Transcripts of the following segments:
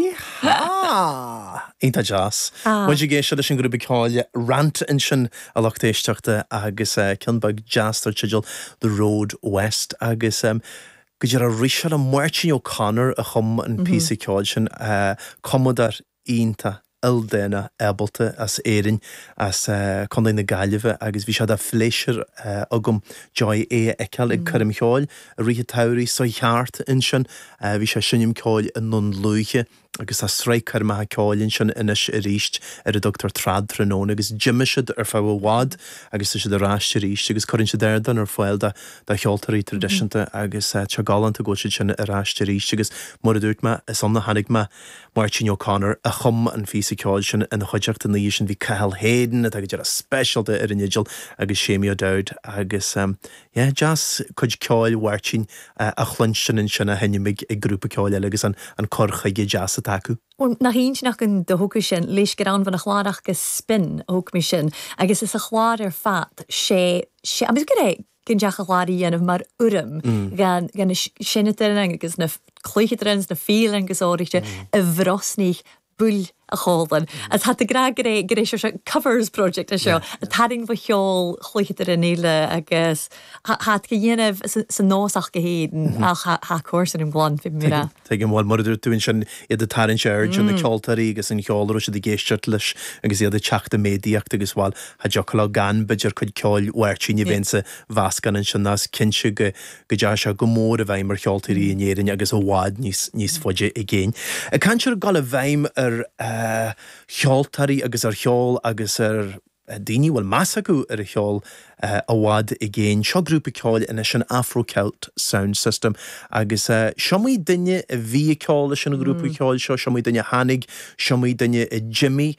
Yeehaw! Iontach deas. Muid ag éisteacht leis an ghrúpa ceoil Rant ansin, a lucht éisteachta, agus ceann beag deas dar teideal The Road West agus go díreach rith sé liom, Máirtín O'Connor a chum an píosa ceoil sin, cumadóir iontach ildánach ábalta as Éirinn, as Contae na Gaillimhe agus bhí sé de phléisiúr agam Joy é a fheiceáil ag coirm cheoil i rith an tsamhraidh seo thart ansin. Bhí sé ag seinm ceoil i nDún Lúiche agus tá sraith coirmeacha ceoil ansin anois arís ar a dtugtar Trad-Tráthnóna agus d'imigh siad ar feadh i bhfad agus tá siad ar ais arís agus cuireann siad ardán ar fáil do cheoltóirí traidisiúnta agus tá sé galánta go bhfuil siad sin ar ais arís agus mar a dúirt mé is ann a chonaic mé Máirtín O'Connor a chum an phíosa ceoil sin ina chuideachta an oíche sin bhí Cathal Hayden atá go díreach speisialta ar an fhidil agus Séimí O'Dowd agus yeah deas cuid ceoil Mháirtín a chluinstin ansin á sheinm ag grúpa ceoil eile agus an cur chuige deas atá acu. Bhuel, nach iontach an do thógfaidh sin, leis gur ann bhí an chlár ach go spin a thóg mé sin agus is a chlár ar fad sé sé agus go raibh gan deach a chlár a dhéanamh mar fhoirm gan gan na seinneadóirí agus na cluicheadóirí agus na fíle agus áirithe a bhrosnaigh bull a chomhlann. Agus tá tú ag rá go raibh go raibh sé seo covers project é seo a tarraing mo cheol chluicheadóirí eile agus Thá tú a dhéanamh sa nós ach go hÉirinn ach thá cúrsa ar an gclann, fé mar a. Tuigim, bhuel, mar a dúirt tú ansin, iad ag tarraingt aird ar na ceoltóirí agus an cheol a raibh siad ag éisteacht leis agus iad ag teacht i méadaíocht agus, bhuel, cha dtiocfadh leo gan, b'fhéidir, cuid ceoil Mháirtín a bheith insa mheascán ansin ach is cinnte go go dteachaigh sé go mór i bhfeidhm ar cheoltóirí in Éirinn agus i bhfad níos níos faide i gcéin. Ag caint ar dhul i bhfeidhm ar cheoltóirí agus ar cheol agus ar daoine a bhfuil meas acu ar an cheol i bhfad i gcéin. Seo grúpa ceoil anois, an Afro Celt Sound System, agus s'iomaí duine a bhí ag ceol leis an ghrúpa ceoil seo, s'iomaí duine a tháinig, s'iomaí duine a d'imigh.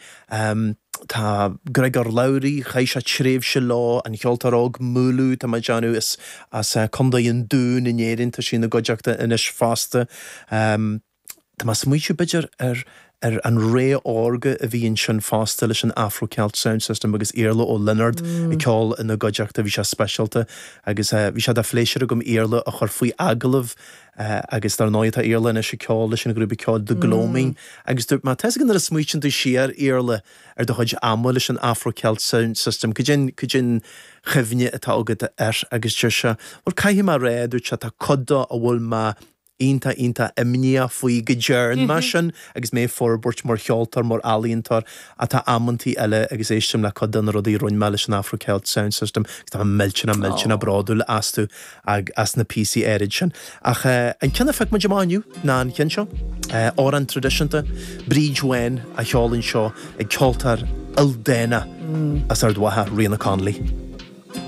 Tá Gregor Lowry, chaith sé tréimhse leo, an cheoltóir óg Mulu, tá mé ag déanamh, as as Contae an Dúin in Éirinn, tá sí ina gcuideachta anois fosta. Tá mé ag smaoitiú, b'fhéidir, ar ar an ré órga a bhí ansin fosta leis an Afro Celt Sound System agus Iarla Ó Lionáird ag ceol ina gcuideachta, bhí sé speisialta agus bhí sé de phléisiúr agam Iarla a chur faoi agallamh agus dar ndóigh tá Iarla anois ag ceol leis an ghrúpa ceoil The Gloaming agus dúirt mé, tá 'fhios agam nuair a smaoitíonn tú siar, Iarla, ar do chuid ama leis an Afro Celt Sound System, cad é cad é an chuimhne atá agat air agus deir sé, bhuel caithfidh mé a rá, dúirt sé, tá cuid de a bhfuil mé iontach, iontach imníoch faoi go dtearn mé sin agus mé ag forbairt mar cheoltóir, mar ealaíontóir ach tá amantaí eile agus éistim le cuid de na rudaí a rinne mé leis an Afro Celt Sound System agus tá mé millteanach, millteanach bródúil astu as na píosaí áirid sin. Ach an ceann a phioc muid amach inniu ná an ceann seo, amhrán traidisiúnta, Bríd Bhán á cheol anseo ag ceoltóir ildánach as Ard Mhacha, Ríona Connolly.